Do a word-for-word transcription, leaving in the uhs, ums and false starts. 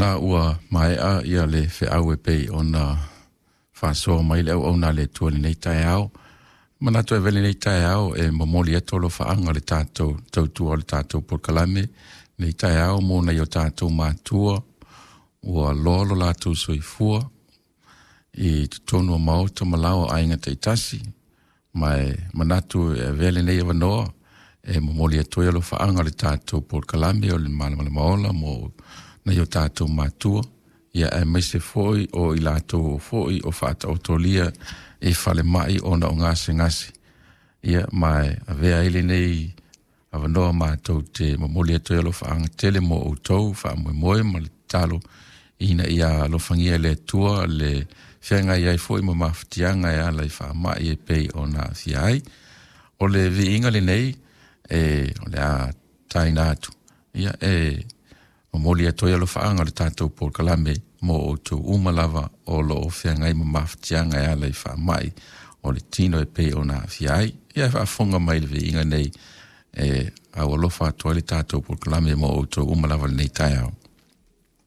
Lena ua maea ia le feau e pei ona faasoa mai le auauna a le Atua i lenei taeao. Manatu e avea lenei taeao e momoli atu alofaaga le tatou tautua o le tatou polokalame lenei taeao mo nai o tatou matua ua loa lo latou soifua i totonu o maota ma lao o aiga taitasi, ma e manatu e avea lenei avanoa e momoli atu ai alofaaga le tatou polokalame o le Malamalama Ola mo nai o tatou matua, ia aemaise foi o i latou foi o faataotolia i falemai ona o gasegase. Ia ma e avea ai lenei avanoa matou te momoli atu ai alofaaga tele mo outou faamoemoe ma le tatalo ina ia alofagia e le Atua le feagai ai foi ma mafatiaga e ala i faamai e pei ona aafia ai. O le viiga lenei e o le a taina atu, ia e momoli atu ai alofaaga o le tatou polokalame mo outou uma lava o lo o feagai ma mafatiaga e ala i faamai o le tino e pei ona aafia ai. Ia e faafofoga mai le viiga nei e aualofa atu ai le tatou polokalame mo outou uma lava lenei taeao.